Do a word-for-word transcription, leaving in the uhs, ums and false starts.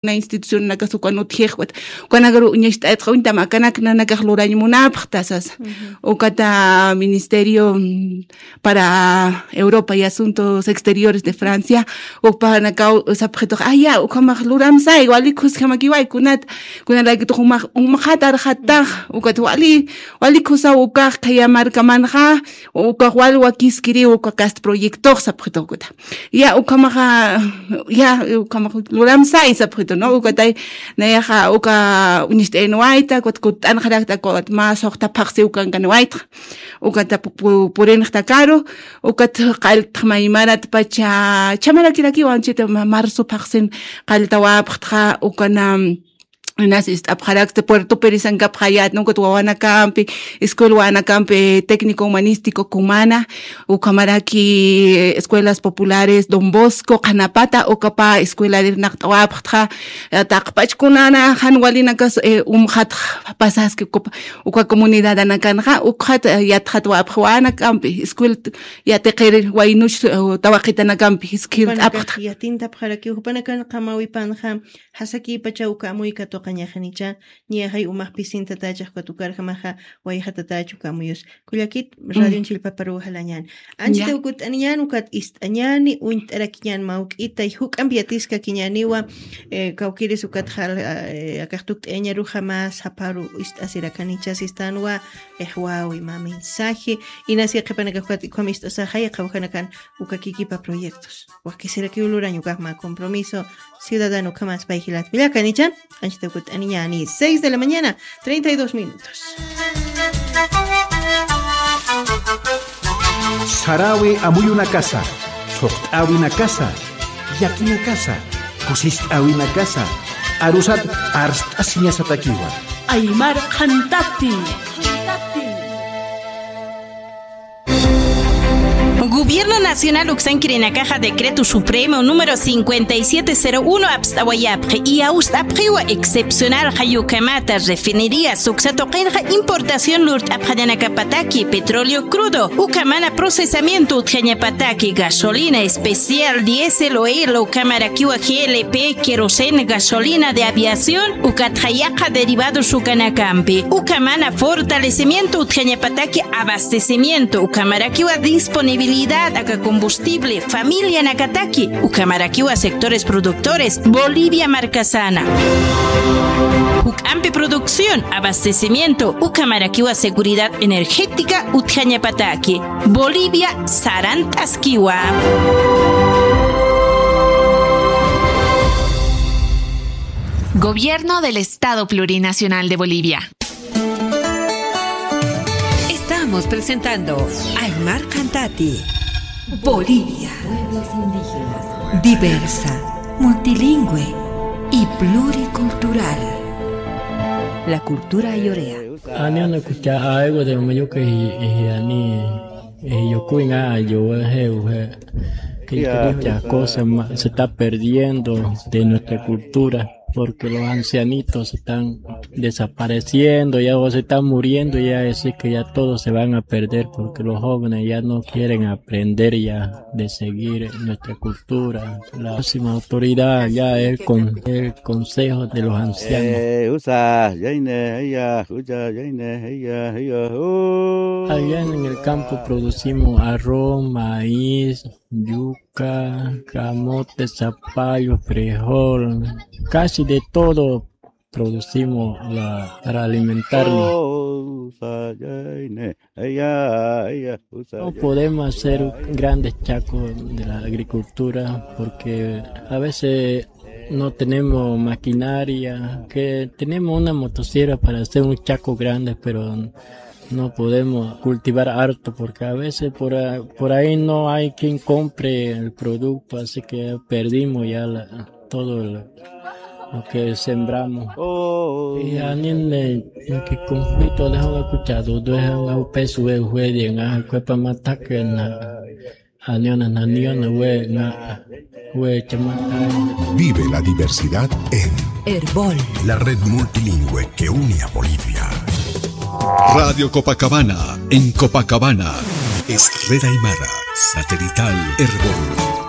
kuna institucionanakas ukan utjix, ukat ukanakaru uñacht'aytxa uñtam akanak nanakax lurañ munapxta sasa. Ujú. Ukata Ministerio, mm, para Europa y Asuntos Exteriores de Francia, ukpanakaw sapxitux, "Ay, ya, ukhamax luramsay, wali khusjamakiway kunat, kunalaykitux umax, umaxat arxatax", ukat wali, wali khusaw ukax khaya markamanxa, ukax wal wakiskiri uka kast proyectox sapxitux ukata. Ya, ukhamaxa, ya, ukhamax luramsay sapxitu, ¿no? Ukatay, nayaxa, uka uñacht'ayniwayta, ukat kutt'anxarakta, ukat mä suxta phaxsi ukankaniwaytxa. Ukata pu-, pu-, purinxtakaru, ukat qalltx maymarat pacha, chamarakirakiwa anchita ma-, marzo phaxsin qalltawapxtxa, ukana, inas ist'apxarakta Puerto Pirisankapxayät, ¿no? Ukat wawanakampi, escuela wawanakampi, técnico humanístico Cumana, ukhamaraki, eh, escuelas populares Don Bosco, qhanapata, ukapa escuela irnaqt'awapxtxa, eh, taqpach kunana, jan walinakas, eh, umxatx pasaski, uka, uka comunidadanakanxa, ukxat, eh, yatxatwapxi wawanakampi, escuela, yatiqir waynuch, eh, tawaqitanakampi, escuela t'apxta. Jupanakax yatintapxarakiw, jupanakan qamawipanxa, Jasaki pacha uka amuy katuqañaxanicha, ñaxay umax pisintatachix katukarjamaxa, wayxatatach uka amuyus. Kullakit, mm, radion chillpaparu jalañan. Anchita, ya, ukut'aniñan, ukat ist'añani, uñt'arakiñan mawk'itay, juk'ampi yatiskakiñaniwa, eh, kawkiris ukat jal-, eh, akax tukt'ayañaruxa mä sapharu ist'asirakanicha sistanwa, eh, wawi mä mensaje, inasi qhipanakax ukat ukham ist'asaxay, qhawjanakan uka kikipa proyectos. Wakisirakiw lurañ ukax mä compromiso ciudadano ukhamas pay jilat. Kullakanicha, anchita ukut'aniñani, seis de la mañana, treinta y dos minutos. Sarawi amuyunakasa, thuqt'awinakasa, yakinakasa, kusist'awinakasa, arusat arst'asiñasatakiwa. Aymar Qhantati. Gobierno Nacional uksankirinakaxa Decreto Supremo número cincuenta y siete cero uno apst'awayapxi, iyawst'apxiwa excepcional jayukamata refinería suksa tuqinxa importación lurt'apxañanakapataki petróleo crudo, ukamana procesamiento utjañapataki gasolina especial, diésel, oil, ukamarakiwa G L P, queroseno, gasolina de aviación, ukatxa yaqha derivados ukanakampi, ukamana fortalecimiento utjañapataki abastecimiento, ukamarakiwa disponibilidad aka combustible, familianakataki, ukamarakiwa sectores productores, Bolivia markasana. Juk'ampi producción, abastecimiento, ukamarakiwa seguridad energética utjañapataki. Bolivia sarant'askiwa. Gobierno del Estado Plurinacional de Bolivia. Estamos presentando Aymar Qhantati. Bolivia. Pueblos indígenas. Diversa, multilingüe y pluricultural. La cultura ayorea. Aniona kucha aiwa de mayuka y, y ani, eh, yokuinga yo, eh, eh, que, que muchas cosas ma-, se está perdiendo de nuestra cultura, porque los ancianitos están desapareciendo, ya o se están muriendo, ya así que ya todos se van a perder, porque los jóvenes ya no quieren aprender ya de seguir nuestra cultura. La máxima autoridad ya es con el Consejo de los Ancianos. Eh, usa, yaine, ella, usa, yaine, ella, ella, uh. Allá en el campo producimos arroz, maíz, yuca, camote, zapallo, frijol, casi de todo producimos la, para alimentarnos. No podemos hacer grandes chacos de la agricultura porque a veces no tenemos maquinaria, que tenemos una motosierra para hacer un chaco grande, pero no podemos cultivar harto porque a veces por a-, por ahí no hay quien compre el producto, así que perdimos ya la, todo lo, lo que sembramos. Y anin, eh, en que conflicto de agua escuchado, de agua peso, eh, fue bien, ah, fue para matar que na-, Aniona, aniona, we, na, we, chama. Vive la diversidad en Erbol, la red multilingüe que une a Bolivia. Radio Copacabana, en Copacabana. Es red aymara, satelital Erbol.